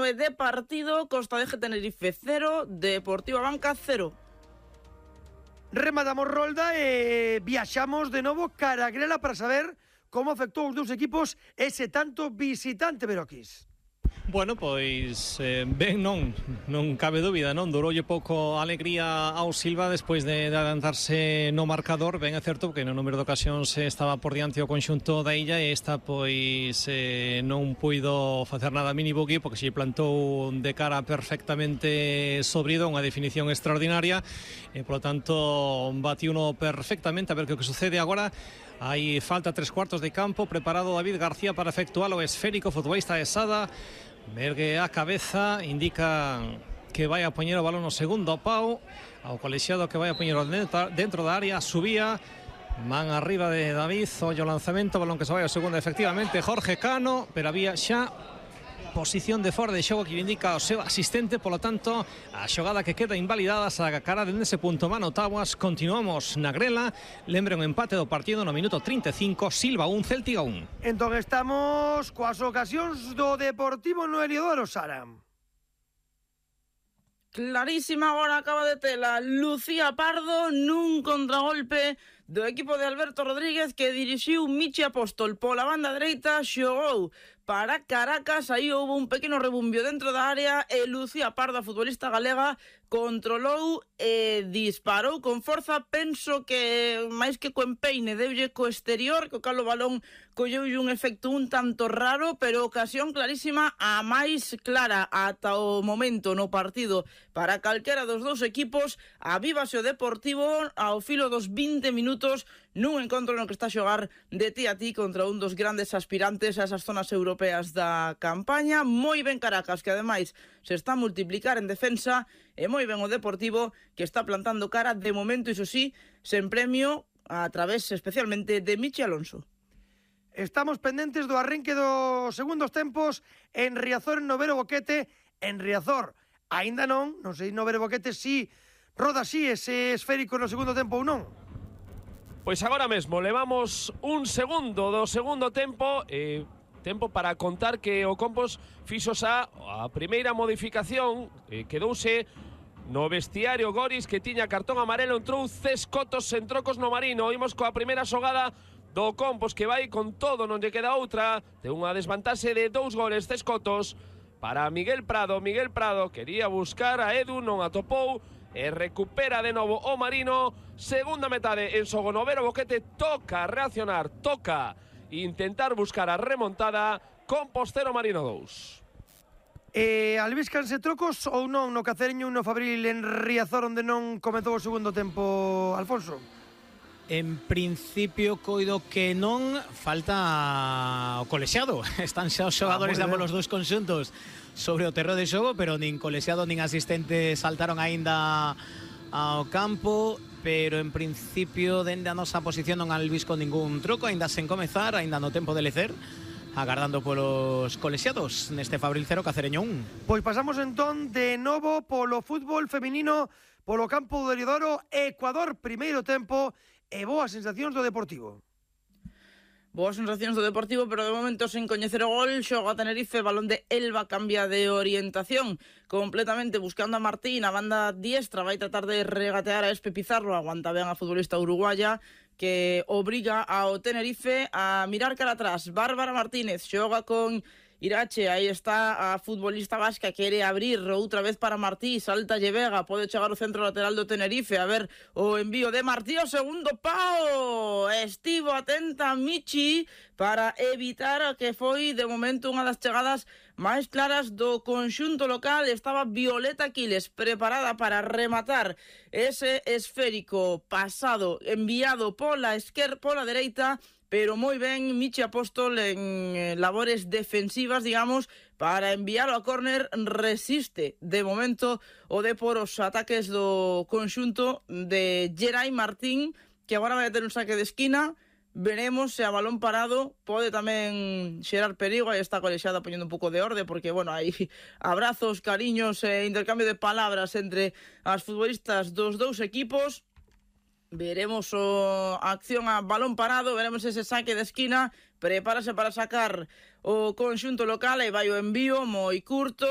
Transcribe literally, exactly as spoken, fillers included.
nove de partido, Costa de Tenerife cero, Deportivo Abanca cero. Rematamos rolda e viaxamos de novo cara a Grela para saber como afectou os dous equipos ese tanto visitante, Beroquis. Bueno, pois eh, ben non, non cabe dúbida, non? Duroulle pouco alegría ao Silva despois de, de adelantarse no marcador. Ben é certo que no número de ocasións estaba por diante o conxunto da illa e esta pois eh, non puido facer nada a Mini Buggy porque se plantou de cara perfectamente sobrido, unha definición extraordinaria e polo tanto bati uno perfectamente. A ver que o que sucede agora. Hai falta tres cuartos de campo, preparado David García para efectuar o esférico, futbolista de Sada. Mergue a cabeza, indica que vai a poñer o balón no segundo pau ao colexiado que vai a poñer dentro da área, subía man arriba de David, ollo lanzamento, balón que se vai ao segundo, efectivamente Jorge Cano, pero había xa posición de fora de xogo que indica o seu asistente, polo tanto a xogada que queda invalidada sa cara dende ese punto Mano Tabuas. Continuamos na Grela, lembre un empate do partido no minuto trinta e cinco, Silva un, Céltiga un. Entón estamos coas ocasións do Deportivo no Heliodoro, Sara. Clarísima agora acaba de tela Lucía Pardo nun contragolpe do equipo de Alberto Rodríguez que dirixiu Michi Apóstol pola banda dereita, xogou para Caracas, aí houve un pequeno rebumbio dentro da área e Lucía Pardo, a futbolista galega, controlou e disparou con forza. Penso que máis que co empeine deulle co exterior, co cal o balón colleulle un efecto un tanto raro, pero ocasión clarísima, a máis clara ata o momento no partido para calquera dos dous equipos. Avívase o Deportivo ao filo dos vinte minutos nun encontro no que está a xogar de ti a ti contra un dos grandes aspirantes a esas zonas europeas da campaña. Moi ben Caracas, que ademais se está a multiplicar en defensa, e moi ben o Deportivo, que está plantando cara de momento, iso sí, sen premio, a través especialmente de Michi Alonso. Estamos pendentes do arranque dos segundos tempos en Riazor, en Novero Boquete. En Riazor, aínda non, non sei Novero Boquete si roda así ese esférico no segundo tempo ou non. Pois agora mesmo levamos un segundo do segundo tempo e tempo para contar que o Compos fixo xa a primeira modificación, e quedouse no vestiario Goris, que tiña cartón amarelo, entrou Cescotos en trocos no Marino. Imos coa primeira xogada do Compos, que vai con todo, non lle queda outra, de unha desvantaxe de dous goles. Cescotos para Miguel Prado, Miguel Prado quería buscar a Edu, non atopou, e recupera de novo o Marino. Segunda metade en xogo, Novero Boquete toca reaccionar, toca intentar buscar a remontada. Compos cero, Marino dous. Eh, albíscanse trocos ou non no Cacereño un no Fabril en Riazor, onde non comezou o segundo tempo, Alfonso? En principio coido que non, falta o colexiado. Están xa os xogadores ah, de ambos os dous conxuntos sobre o terreo de xogo, pero nin colexiado nin asistente saltaron aínda ao campo, pero en principio dende a nosa posición non albisco ningún troco, aínda sen comezar, aínda no tempo de lecer, agardando polos colexiados neste Fabril cero, Cacereño un. Pois pasamos entón de novo polo fútbol feminino, polo campo do Heliodoro. Ecuador, primeiro tempo, e boas sensacións do Deportivo. Boas sensacións do Deportivo, pero de momento sen coñecer o gol. Xoga Tenerife, balón de Elba, cambia de orientación completamente buscando a Martín, a banda diestra, vai tratar de regatear a Espe Pizarro, aguanta ben a futbolista uruguaya, que obriga ao Tenerife a mirar cara atrás. Bárbara Martínez xoga con Irache, aí está a futbolista vasca, quere abrir outra vez para Martí, salta Vega, pode chegar o centro lateral do Tenerife, a ver o envío de Martí, o segundo pau, estivo atenta Michi para evitar que foi de momento unha das chegadas máis claras do conxunto local. Estaba Violeta Quiles preparada para rematar ese esférico pasado, enviado pola esquerda, pola dereita, pero moi ben Michi Apóstol en eh, labores defensivas, digamos, para enviarlo a córner. Resiste de momento o de por os ataques do conxunto de Geray Martín, que agora vai a ter un saque de esquina. Veremos se a balón parado pode tamén xerar perigo. Aí está colexiada poñendo un pouco de orde, porque, bueno, hai abrazos, cariños e intercambio de palabras entre as futbolistas dos dous equipos. Veremos o acción a balón parado, veremos ese saque de esquina. Prepárase para sacar o conxunto local e vai o envío moi curto.